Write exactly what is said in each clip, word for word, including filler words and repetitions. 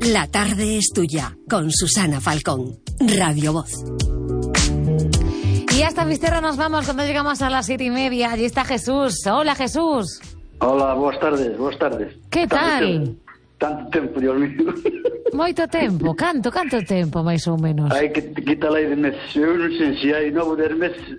La tarde es tuya, con Susana Falcón, Radio Voz. Y hasta Fisterra nos vamos cuando llegamos a las siete y media. Allí está Jesús. Hola, Jesús. Hola, boas tardes, boas tardes. Que tal? Tanto tempo, Dios mío. Moito tempo, canto, canto tempo, máis ou menos. Hai que quitar aí de meses. Eu non sei se hai novo de meses.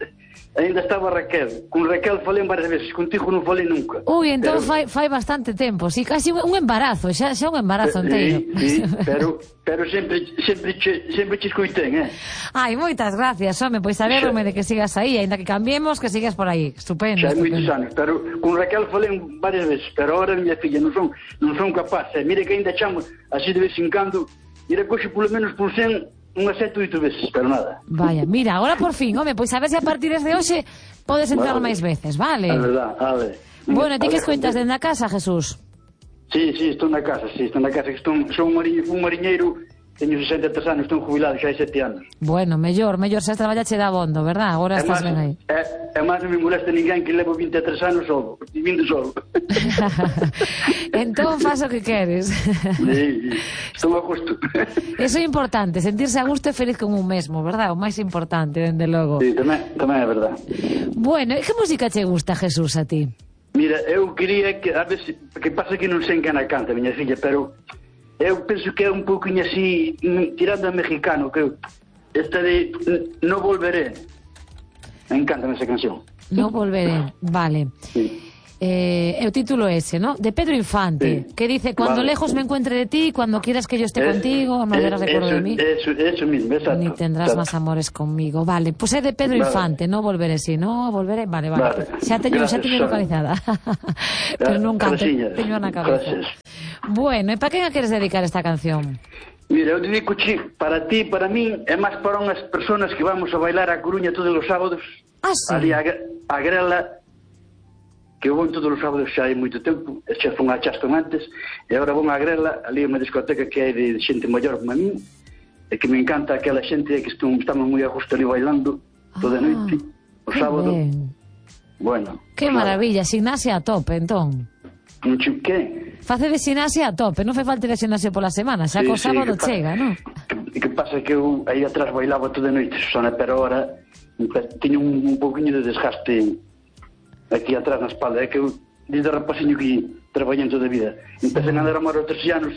Ainda estaba Raquel. Con Raquel falei varias veces, contigo non falei nunca. Ui, entón pero... fai, fai bastante tempo. Si, casi un embarazo, xa, xa un embarazo inteiro. Sí, sí, pero, pero sempre, sempre, che, sempre che escoitén, eh? Ai, moitas gracias, home, pois alegro-me de que sigas aí, ainda que cambiemos, que sigas por aí. Estupendo. Xa hai estupendo. moitos anos, pero con Raquel falei varias veces, pero ahora miña filla non son, non son capaz. Eh? Mire que ainda chamo así de vez en cando, mira, coxe polo menos por cen unhas sete, oito veces, pero nada. Vaya, mira, agora por fin, home, pois a ver se a partir de hoxe podes entrar vale. máis veces, vale? É verdad, vale. Bueno, ti que escoitas dentro da casa, Jesús? Sí, sí, estou na casa, sí, estou na casa, que estou, sou un, mariñeiro, un mariñeiro, teño sesenta e tres anos, estou jubilado xa hai sete anos. Bueno, mellor, mellor, xa traballache da abondo, verdad? Agora é estás máis, ben aí. É, é máis non me molesta ninguén que levo vinte e tres anos solo, vivindo solo. Entón faz o que queres. Sí, estou a gusto. Eso é importante, sentirse a gusto e feliz con un mesmo, verdad? O máis importante, dende logo. Sí, tamén, tamén é verdad. Bueno, e que música che gusta, Jesús, a ti? Mira, eu quería que, a ver se, que pasa que non sei en cana canta, miña filla, pero eu penso que é un pouquinho así, tirando a mexicano, que esta de No Volveré. Me encanta esa canción. No Volveré, vale. Sí. Eh, el título ese, ¿no? De Pedro Infante, sí. Que dice, cuando vale. lejos me encuentre de ti, cuando quieras que yo esté es, contigo, no habrás recuerdo eso, de mí. Eso, eso mismo, exacto. Ni tendrás exacto. más amores conmigo. Vale, pues es de Pedro vale. Infante, No Volveré, sí, No Volveré, vale, vale. vale. Xa teño, xa teño localizada. Pero nunca te, teño na cabeza. Gracias. Bueno, e para quen a queres dedicar esta canción? Mira, eu dedico para ti, para min, é máis para unhas personas que vamos a bailar a Coruña todos os sábados. Ah, sí? Ali a, a Grela, que eu vou todos os sábados xa hai moito tempo, xa fun a Chaston antes, e agora vou a Grela, ali unha discoteca que hai de xente maior como a min, e que me encanta aquela xente que estamos moi a gusto ali bailando toda a noite, o sábado. Ben. Bueno. Que maravilla, ximnasia a tope, entón. Un que? Face de ximnasia a tope, non fai falta ir a ximnasia pola semana, xa sí, co sábado sí, chega, non? Que, que pasa que eu aí atrás bailaba toda a noite, Susana, pero ahora teño un, un pouquinho de desgaste aquí atrás na espalda, é que eu desde rapaciño que traballei toda a vida. Empecé a andar a mar aos trece anos,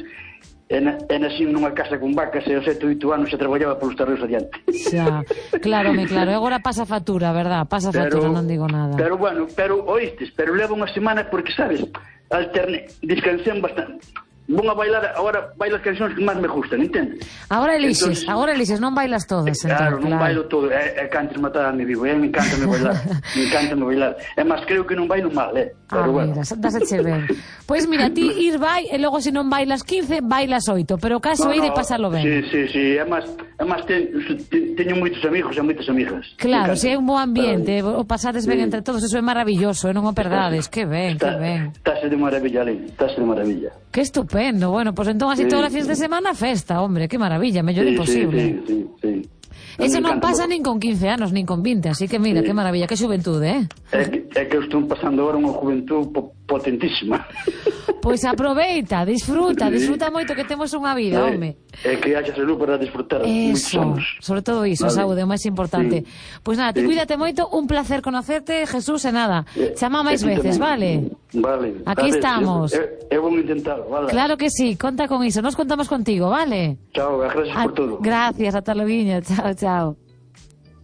e, na, e nasci nunha casa con vacas, e aos sete, oito anos xa traballaba polos terreos adiante. Xa, claro, me claro, e agora pasa factura, verdad? Pasa factura, pero, non digo nada. Pero bueno, pero oístes, pero levo unha semana porque, sabes, alterne, descansei bastante. Vou a bailar, agora bailo as cancións que máis me gustan, entendes? Agora elixes, Entonces, agora elixes, non bailas todas, entón, claro, non claro. bailo todo, é, é cantes matar a mi vivo, é, me encanta me bailar, me encanta me bailar. É máis, creo que non bailo mal, é, pero ah, bueno. mira, dáseche ben. Pois mira, ti ir vai, e logo se non bailas quince, bailas oito, pero o caso é no, de pasarlo ben. Sí, sí, sí, é máis, é máis, te, te, teño moitos amigos e moitas amigas. Claro, se é un bo ambiente, o pasades ben sí. entre todos, eso é maravilloso, e non o perdades, que ben, está, que ben. Estás de maravilla, Alén, estás de maravilla. Que estupendo, bueno, pois pues entón así sí. todas as fins de semana festa, hombre, que maravilla, mellor sí, imposible. Sí, sí, sí, sí. Eso non pasa nin con quince anos, nin con vinte, así que mira, sí. que maravilla, que xuventude, eh? É que, é que eu estou pasando agora unha juventude po potentísima. Pois aproveita, disfruta, sí. disfruta moito que temos unha vida, é, home. É que haxa salud para disfrutar moitos anos. Sobre todo iso, vale. Saúde, o máis importante. Sí. Pois nada, te sí. cuídate moito, un placer conocerte, Jesús, e nada, chama máis veces, vale? Vale. Aquí ver, estamos. Eu, eu vou intentar, vale? Claro que sí, conta con iso, nos contamos contigo, vale? Chao, gracias a, por todo. Gracias, ata loguinho, chao, chao.